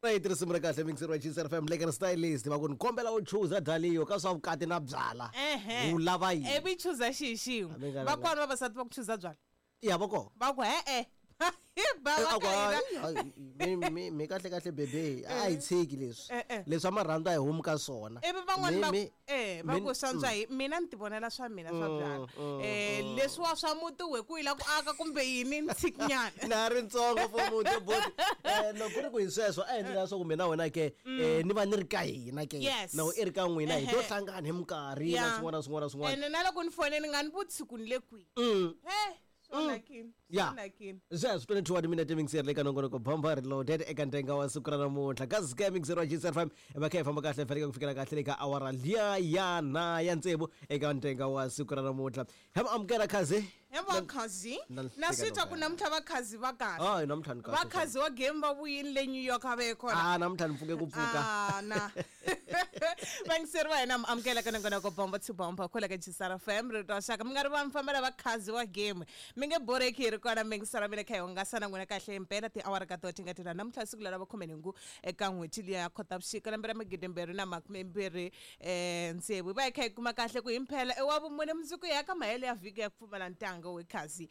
Right, risimu ra kahle mixer wa Gcr FM Lekker Stylist va ku ni kombela u chuza Dalio ka swa vukati na byala. Ehe. U lava yini? Ivi chuza xihi xin'we. A mi nga- Vakwani vavasati va ku chuza byala. Ya va kona. Va ku e-e. Ba Eh, va a ku, ka hina. "Hayi, hayi, mi kahle kahle bebe a hi tshiki leswi Eh, eh. leswi a marhandzu a hi humi ka swona Ivi van'wani va va ku mm. swantswa hi mina ni tivonela swa mina swa byala. Leswiwa swa muti we ku yi la ku aka kumbe yini ni tshikinyana. Na ri ntsongo for muti boti loko ku ri ku hi sweswo a endlela leswaku mina wena ke ni va ni ri ka hina ke Yes. na i ri ka n'wina hi to Ehe. hlangana hi minkarhi na Yeah. swin'wana na swin'wana na swin'wana Ene na loko ni fonela ni nga ni vutisi ku ni le kwihi. He, swi onhakile. Swi Ya. onhakile. Sweswo 22 wa timinete mixer le ka nongonoko bomba reloaded eka ntenga wa siku ra namuntlha kasi ka mixer wa GCR FM va kha hi famba kahle faneke ku fikela kahle le ka awara liya ya na ya tsevu eka ntenga wa siku ra namuntlha ha mi amukela khazi He vakhazi Na- na swi twa ku namuntlha vakhazi va kahle. hayi namuntlha ni kahle Vakhazi wa game va vuyini le New York a va ye kona. ah namuntlha ni pfuke ku pfuka Ah, na vangiseri va hina mi amukela ka nongonoko bomba to bomba kwala ka Gisara FM rito ra xaka mi nga ri va mi fambela vakhazi wa game mi nge boreki hi ri kona mi ngisara mi le kha hi hungasa na n'wina kahle impela tiawara ka tona ti nga tirha namuntlha siku leri va khumenhungu eka n'hweti liya ya Khotavuxika lembe ra magidimbirhi na makumembirhi tsevu hi va hi kha hi kuma kahle ku himpela i wa vumune mundzuku ya ka mahelo ya vhiki ya ku pfumala ntanga we khazi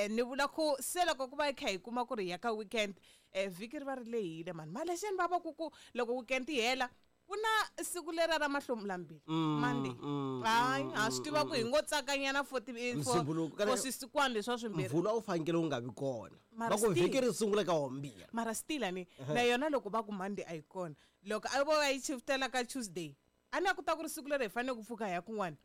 ni vula ku se loko ku va hi kha hi kuma ku ri hi ya ka weekend vhiki ri va ri lehile mani malexeni va va ku ku loko weekend yi hela ku na siku lera ra mahlomulambili Monday hayi ha swi tiva ku hi ngo tsakanyana for Msumbuluko, for swisikwana leswa swimbirhi mvula a wu fanekele wu nga vi kona Mara va ku still- vhiki ri sungula ka wambirhi mara still ani na yona loko va ku Monday a yi kona loko a vo va yi shiftela ka Tuesday a ni a ku ta ku ri siku leri hi fanele ku pfuka hi ya kun'wana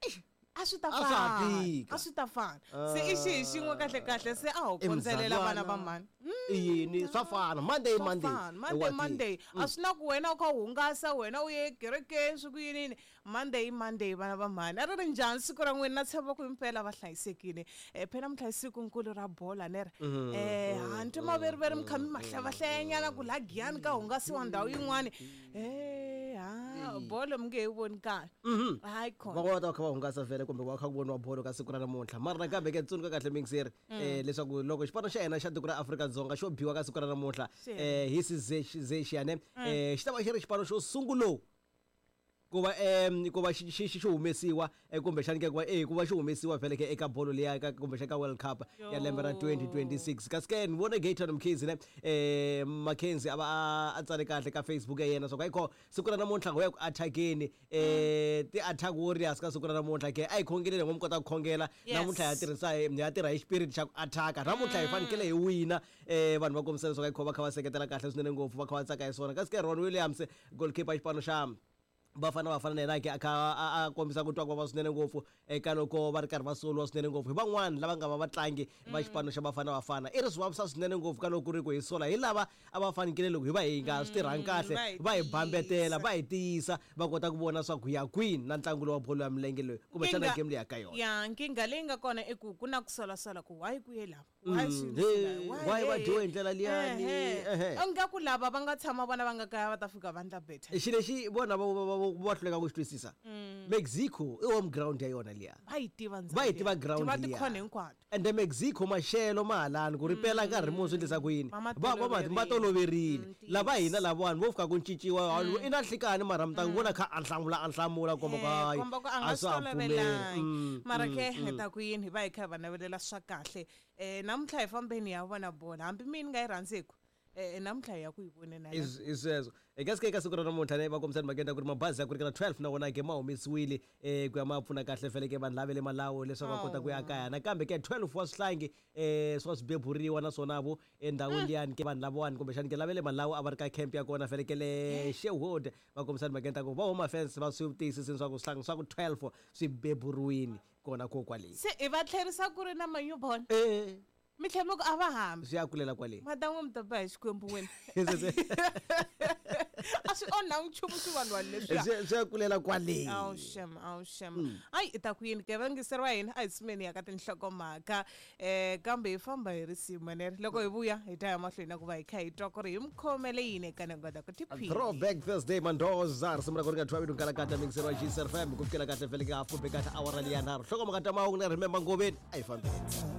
a swi ta A swa ha fana tika. a swi ta fana se i xihi xin'we kahle kahle se a ho kondzelela vana va mani i yini swa fana Monday Swa Monday fana. Monday Monday a swi na ku wena u kha u hungasa wena u ye kerekeni swi ku yinini Monday i Monday vana va mhani a ri ri njhani siku ra n'wina na tshemba ku himpela va hlayisekile phela namuntlha i sikunkulu ra bola ne ri ha ni twa maveriveri mi kha mi mahlevahlayanyana ku laha Giyani ka hungasiwa ndhawu yin'wani ha bolo mi nge he voni kahle hayi khona va va ta kha va hungasa vhele kumbe va kha ku voniwa bolo ka siku ra namuntlha mara nakambe ke tsundzuka kahle mixer leswaku loko xipano xa hina xa tiko ra Afrika-Dzonga xo biwa ka siku ra namuntlha hi sizexiyane xi ta va xi ri xipano xo sungulo ku va ku va xi xi humesiwa kumbexani ke ku va ku va xi humesiwa vhele ke eka bolo liya ka kumbexani ka World Cup ya lembe ra 2026 kasi ke ni vone Gayton Mkhize ne Mackenzie a va a tsale kahle ka Facebook ya yena swa ku ayikho siku ra namuntlha ngo ya ku attackeni ti-attack warriors ka siku ra namuntlha ke a hi khongeleni ngo mi kota ku khongela namuntlha ya tirhisa ya tirha hi spirit xa ku attack namuntlha hi fanekele hi wina vanhu va kombisa leswaku ayikho va kha va seketela kahle swinene ngopfu va kha va tsaka hi swona kasi ke Ron Williams goalkeeper xipano xa Bafana Bafana na yena ke a kha a kombisa ku twa ku vava swinene ngopfu eka loko va ri karhi va soliwa swinene ngopfu hi van'wani lava nga va vatlangi va xipano xa Bafana Bafana i ri swi vavisa swinene ngopfu ka loko ku ri ku hi sola hi lava a va fanekele loko hi va hi nga swi tirhangi kahle va hi va hi bambetela tiyisa. va hi tiyisa va kota ku vona swa ku ya kwini na ntlangu lowu wa bolo ya milenge loyi kumbexana game leyi ya ka yona ya nkingha leyi nga kona i ku ku na ku solasola ku why ku ye lava why Hey, why va dyiwe hi ndlela liyani? Ehe. ingaku lava va nga tshama vona va nga kaya va ta fika va ndla better xilo lexi vona va hluleka ku xi twisisa Mexico i home ground ya yona liya va yi tiva ndzhawu va yi liya. tiva ground va liya. tikhona hinkwato Ende Mexico maxelo ma halani ku ri pela nkarhi muni swi endlisa ku yini Va ma va toloverile. toloverile lava Ntiyiso. hina lavawani vo fika ku cinciwa i na nhlikani mara mi ta n'wi vona kha a hlamula a hlamula komba ku hayi komba ku a nga a swi swa ha pfumeli tolovelangi mara ke hi ta ku yini hi va hi kha hi va navelela swa kahle namuntlha hi fambeni hi ya vona bola hambi mina ni nga yi rhandziku namuntlha hi ya ku yi voneni I sweswo kasi ke eka siku ra namuntlha ne va kombisa timhakeni ta ku ri mabazi ya ku ringana 12 na wona ke ma humesiwile ku ya ma pfuna kahle fele ke vanhu lava le Malawi leswaku va kota ku ya kaya nakambe ke 12 wa swihlangi swa swi beburiwa naswona vo endhawini liyani ke vanhu lavawani kumbexani ke lava le Malawi a va ri ka camp ya kona fele ke le Sherwood va kombisa timhakeni ta ku va Home Affairs va swi tiyisisini swa ku swihlangi swa ku 12 swi beburiwini kona ko kwale se hi va tlherisa ku ri na ma-newborn mi tlhela mi ku a va hambi swi ya kulela kwale mata n'we mi ta ba hi xikwembu wena a swi onhangi nchumu swi vanhu vanhu leswiya swi ya kulela kwale awu shem awu shem ayi i ta ku yini ke vangiseri wa hina a hi tsumeni ya ka tinhlokomhaka kambe hi famba hi risimu neri loko hi vuya hi ta ya mahlweni na ku va hi kha hi twa ku ri hi mi khomele yini eka nongonoko ku tiphini Throwback Thursday Mandoza risimu ra ku ri nga thwavi nkalakata mixer wa GCR FM ku fikela kahle vhele ka hafu be kahle awara liya nharhu hlokomhaka ta mahungu na Remember Ngoveni a hi fambeni.